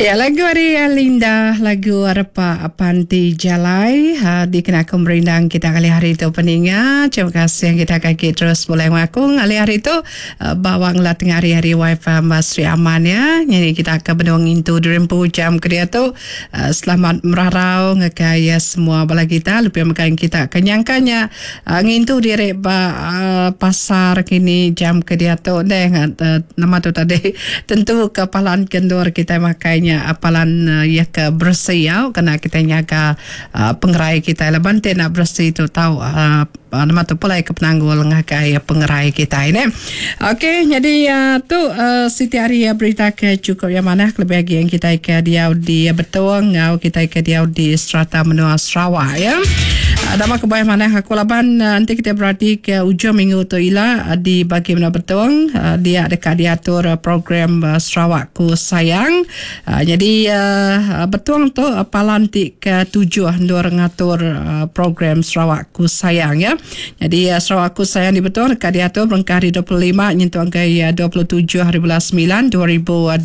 Ya lagu ari Linda lagu repa panti jalai ha, dikena aku merindang kita kali hari tu peninga. Terima kasih kita kaki terus mulai ngaku ngalih hari tu uh, bawa ngela tengah hari hari wifi Sri Aman ya. Jadi kita akan benung ngintu dirempu jam ke dia tu. Selamat merarau ngagai semua bala kita lebih megai kita ke nyangka nya ngintu diri ba pasar kini jam ke diatu deh nama tu tadi tentu ke palan ke endur kitai makai nya palan iya ke beresi au kena kitai nyaga pengerai kitai laban ti enda beresi tu tau. Nama tu pulai ke penanggul ngagai pengerai kitai neh. Okey nyadi tu siti ari berita ke chukup iya manah kelebih agi yang kitai ke diau di Betong enggau kitai ke diau di serata menua Sarawak ya. Nama kebuah manah aku laban enti kitai berati ke ujung minggu tu ila di bagi menua Betong dia deka diatur program Sarawakku Sayang. Nyadi Betong tu palan ti ke tujuh endur ngatur program Sarawakku Sayang ya. Nyadi Sarawakku Sayang di Betong deka diatur berengkah hari 25 nyentuk ngagai 27 hari bulan semilan 2026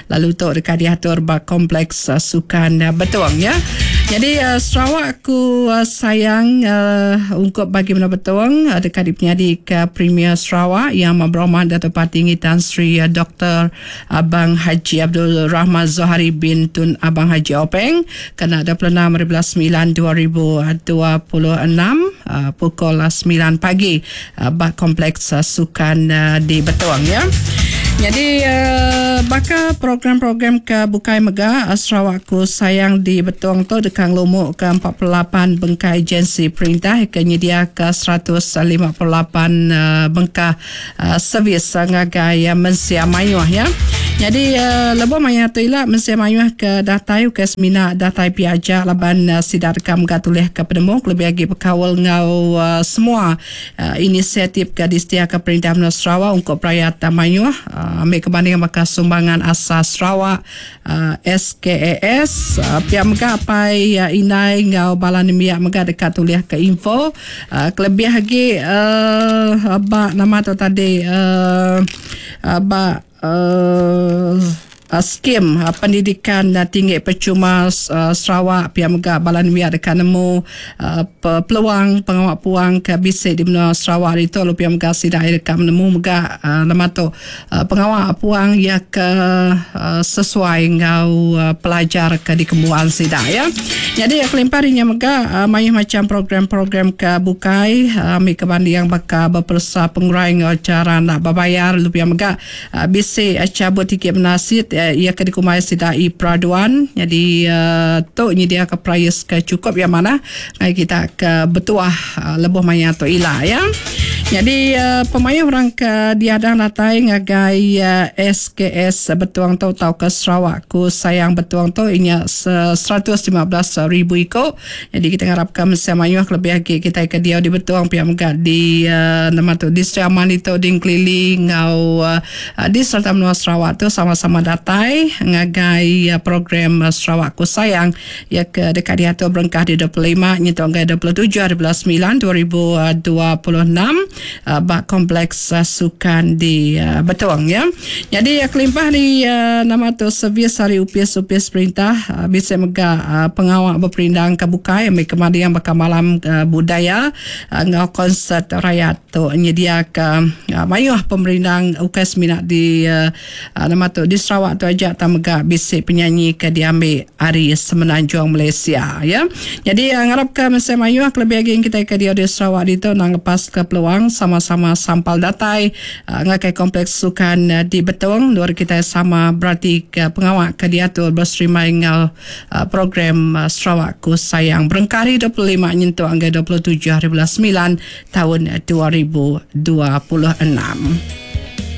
lalu tu deka diatur ba Kompleks Sukan Betong ya. Nyadi Sarawakku Sayang ungkup bagi menua Betong deka dipenyadika Premier Sarawak Yang Amat Berhormat Datuk Patinggi Tan Sri Doktor Abang Haji Abdul Rahman Zohari bin Tun Abang Haji Openg kena 26 hari bulan semilan 2026 pukul 9 pagi ba Kompleks Sukan di Betong ya. Nyadi baka program-program ke bukai mega Sarawakku Sayang di Betong tu deka ngelumuka 48 bengkah agensi perintah ke nyediaka 158 bengkah servis ngagai mensia mayuh ya. Nyadi lebuh maya tu ila mensia mayuh ke datai ukai semina datai pia aja laban sida deka mega tulih ke penemu kelebih agi bekaul enggau semua inisiatif ke disediaka perintah menua Sarawak ungkup rayat mayuh ambi ke banding baka Sumbangan Asas Sarawak, SKAS. Pia mega apai indai enggau bala nembiak mega deka tulih ke info kelebih agi ba nama tu tadi ba skim pendidikan tinggi percuma Sarawak pia mega bala nembiak deka nemu peluang pengawa puang ke bisi di menua Sarawak ditu lalu pia mega sida deka nemu mega nama tu Pengawa puang iya ke sesuai enggau pelajar ke dikembuan sida iya. Nyadi kelimpah ari nya mega mayuh macham program-program ke bukai ambi ke banding baka beperesa pengurai enggau chara enda bebayar lalu pia mega bisi chabut tikit benasit iya ke dikumbai sida e-peraduan. Nyadi tu nyediaka perais ke chukup iya manah ngagai kita ke betuah lebuh maya tu ila iya. Nyadi pemayuh orang ke diadang datai ngagai SKS Betong tu tauka Sarawak ku Sayang Betong tu inya 115,000 iku. Nyadi kita ngarapka mensia mayuh kelebih agi kitai ke diau di Betong pia mega di nama tu di Sri Aman ditu di Engkelili enggau di serata menua Sarawak tu sama-sama datai ngagai program Sarawak ku Sayang Iya ke deka diatur berengkah di 25 nyentuk ngagai 27 hari bulan semilan 2026 ba Kompleks Sukan di Betong ya. Nyadi kelimpah ari nama tu servis ari opis-opis perintah bisi mega pengawa beperindang ke bukai ambi ke mading baka malam budaya enggau konsert rayat tu nyediaka mayuh pemerindang ukai semina di Nama tu di Sarawak tu aja tang mega bisi penyanyi ke diambi ari Semenanjung Malaysia ya. Nyadi ngarapka mensia mayuh kelebih agi kitai ke diau di Sarawak ditu endang ngepaska peluang sama-sama sampal datai ngagai Kompleks Sukan di Betong endur kitai sama beratika pengawa ke diatur beserimbai enggau program Sarawakku Sayang berengkah ari 25 nyentuk ngagai 27 hari bulan semilan taun 2026.